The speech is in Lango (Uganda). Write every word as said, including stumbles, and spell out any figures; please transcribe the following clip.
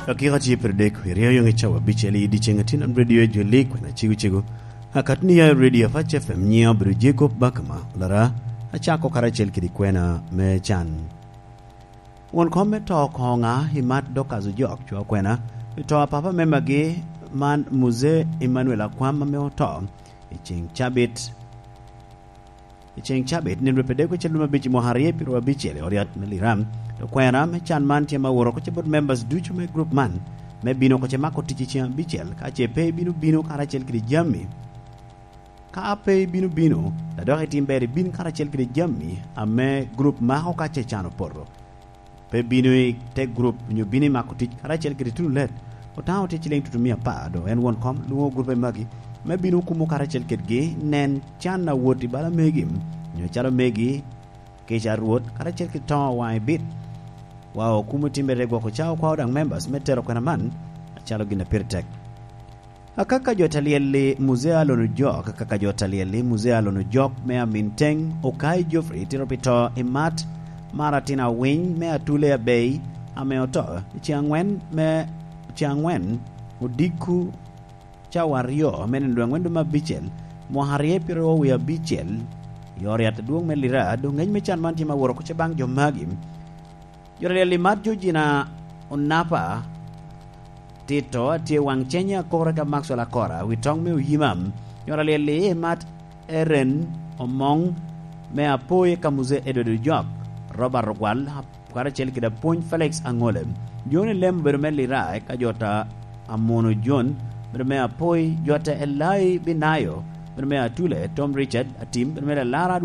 Dakika tye pire dek, i ryo yoŋ i cawa abicel i dyeceŋ a tye nan redio i Joli, kwena cego cego. Akatni ya i redio Apac F M, nyiŋa obedo Jacob Bakama Lara, acako karacel kede kwena me can. Won kom me to koŋa i mat Dorcas Ojok, cwa kwena, i to a papa me magi man Muse Emmanuel Akwam ame oto i ceŋ cabit. I ceŋ cabit, nino rwepedde kwe celume abic i mwaka aryo pyeraryo abicel i ot yat me Liram, to kwena me can man tye ma woro kocce bot members ducu me group man, me bino kocce mako tic i ceŋ abicel, ka ce pe ibino bino karacel kede jami. Ka pe ibino bino, a dok itim ber ibin karacel kede jami ame group mako ka ce can opoto. Pe bino i te group, onyo bino i mako tic karacel kede tuno let. Otaŋo tye ciliŋ tutumia apar, do en won kom lwoŋo group magi, me bino kumo karacel kedgi, nen can a wot i bala megi, onyo calo megi, kica a Rwot, karacel kede toŋo waŋ i bit. Wa okumo timme te gwoko cawa kwao daŋ members me tero kwena man, acalo gin a pire tek. Akaka jo ta lyel i Muzea Alon Ojok, akaka jo ta lyel i Muzea Alon Ojok me Amin Teŋ, Okai Geoffrey tito pi to i mat mar atin awiny me Atule Abei ame oto i ceŋ aŋwen me, ceŋ aŋwen odiko cawa aryo me nino dwe aŋwen dwe me abicel, mwaka aryo pyeraryo wie abicel, i ot yat adwoŋ me Lira. Doŋ ŋec me can man tye ma woro kuca baŋ jo magi. Jo ta lyel i mat Georgina Onapa Tito, atye waŋ cenye akore ka Maxwell Akora, wi toŋ me Oyima. Jo ta lyel i mat Eren Omoŋ me Apoi ka Muse Edward Ojok, Robert Ogwal, karacel kede apwony Felix Aŋole. Joni lem obedo me Lira ka jo ta Amono Jon, obedo me Apoi, jo ta Elai Binayo, obedo me Atule, Tom Richard Atim, obedo me Lalara